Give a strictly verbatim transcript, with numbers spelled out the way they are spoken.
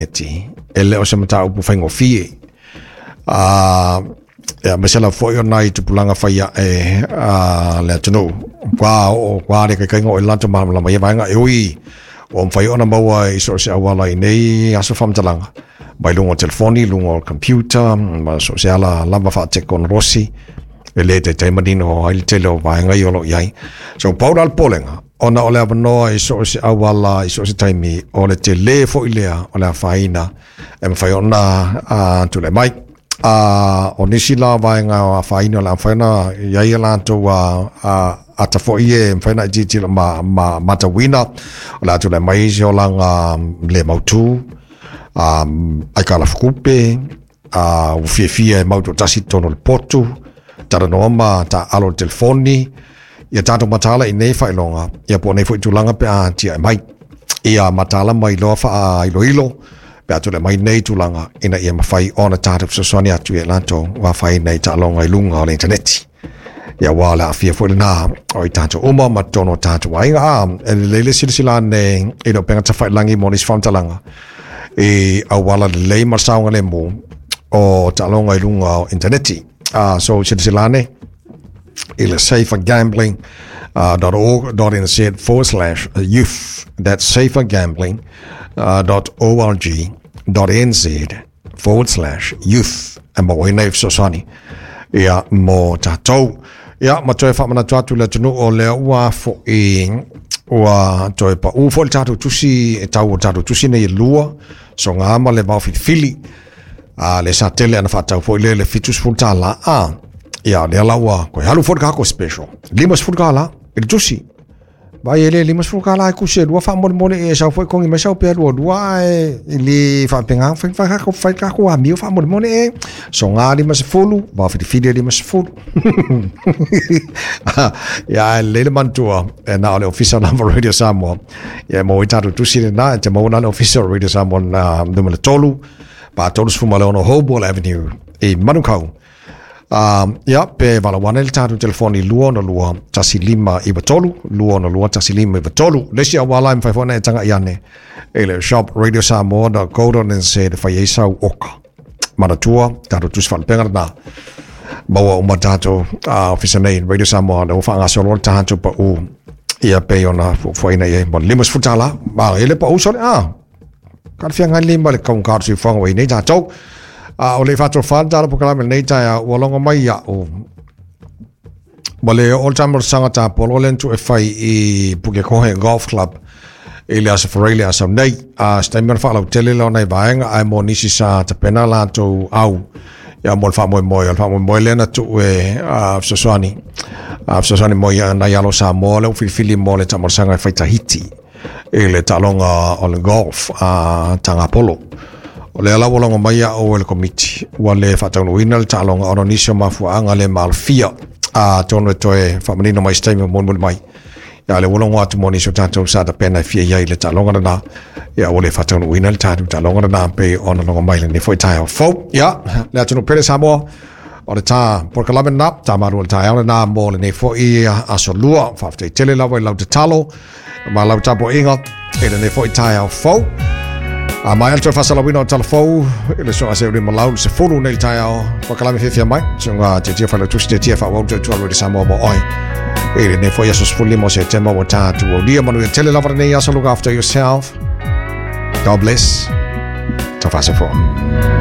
E le o se mataupu faigofie. A ia ma se la foi o nai tupulaga fai ae a le atunuu ua oo ua le kaikaiga o i latou malamalama ia vaega e ui ua mafai ona maua i so o se auala i nei aso faamatalaga mai luga o telefoni, luga o computer ma so o se ala lava faatekonolosi e le taitai manino ai le tele o vaega ia o lo o i ai. So pau la le popolega ona o le avanoa i so o se auala i so o se taimi o le tele foi lea o le afaina e mafai ona uh, tulai mai. Uh, o nisi la vaega o afaina o le a mafai ona i ai a latou uh, uh, ata foi e mafai ona tilotilo ma, ma matauina o le a tulai mai se olaga le mautu, um, aikalafukupe, uh, ua fiafia e mau toatasi i totonu o le potu, talanoa ma taaalo i le telefoni, ia tatou mataala i nei faailoga, ia po o nei foi tulaga pe a tiai mai. Ia mataala mai loa faailoilo, pe a tulai mai nei tulaga, ina ia mafai ona tatou fesoasoani atu ia i latou ua afaina i taaloga i luga o le initaneti. Ia aua o le aafia foi lena o i tatou uma ma totonu o tatou aiga. A, e lelei le silasila ane i le upega tafailagi mo nisi faamatalaga i auala lelei ma le saogalemu o taaloga i luga o initaneti. Uh, so silasila ane i le safergambling dot org dot nz forward slash youth. That's safergambling dot org dot nz forward slash youth. E maua ai nei fesoasoani ia mo tatou. Ia, ma toe faamanatu atu le atunuu o lea ua fo'i ua toe pa'u foi le tatou tusi e tau o le tatou tusi nei e lua soga ma le vaofilifili a le sa tele ana faatau foi lea le fitu sefulu tālā a ia lea la ua toe alu foi le kako special lima sefulu tālā i le tusi vai e le lima sefulu tālā e kusi e lua faamolemole e sau foi kongi mai sau pea lua lua ae i le faapega fai fai kako fai kako amio faamolemole e soga lima sefulu vaofilifili e lima sefulu ia e lelei le manatua e na o le ofisa lava Radio Samoa ia e maua ai tatou tusi lena e te maua na le ofisa o Radio Samoa na numera tolu pa tolu sefulu ma le ono Hopewell Avenue i Manukau. Um, ia, pe valaau ane le tatou telefoni lua ono lua tasi lima iwa tolu, lua ono lua tasi lima iwa tolu. Le isi auala e mafai foi ona e taga'i ane i le shop radio samoa dot co dot nz e fai ai sau oka. Manatua, tatou tusi faalupega lena. Maua uma tatou uh, ofisa nei Radio Samoa lea ua faagasolo le tatou pa'u ia pei ona fuafuaina i ai mo le lima sefulu tālā. Ma e le pa'u sole, ah, ka le feagai lenei ma le kaugata o le soifuaga ua i ai nei tatou. A o le faatofa le tala polokalame lenei taeao ua logo mai iaʻu ma le oo le taamolosaga tapolo lea na tuu e fai i Pukekohe Golf Club i le Aso Faraile le aso nei. A se taimi ona faalautele lea o nai vaega ae mo nisi sa tapena latou au ia mo le faamoemoe. O le faamoemoe lea na tuu e fesoasoani fesoasoani mo ia nai alo Samoa lea ua filifili mo le taamolosaga e fai Tahiti i le taaloga o le golf a Tagapolo. O lea la ua logo mai iaʻu e le komiti ua le faataunuuina le taaloga ona o nisi o mafuaaga le maalofia atonu e toe faamanino mai se taimi o mulimuli mai. Ia lea ua logo atu mo nisi o tatou sa tapena e fia i ai i le taaloga lena. Ia ua le faataunuuina le tatou taaloga lena pei ona logo mai lenei foi taeao fou. Ia le atunuu pele Samoa o le tā polokalame lena, tā malu o le taeao lena mo lenei foi aso lua. Faafetai tele lava i lau tatalo ma lau tapuaiga i lenei foi taeao fou. A mai le toe faasalauina o tala fou i le suaga seulima lau le sefulu nei le taeao polokalame fiafia mai suaga tiatia failautusi tiatia faaauau tautua Radio Samoa mo oe i lenei foi aso sefululima o Setema ua tatou aulia. Manuia tele lava lenei aso. Look after yourself. God bless. Taufasofoa.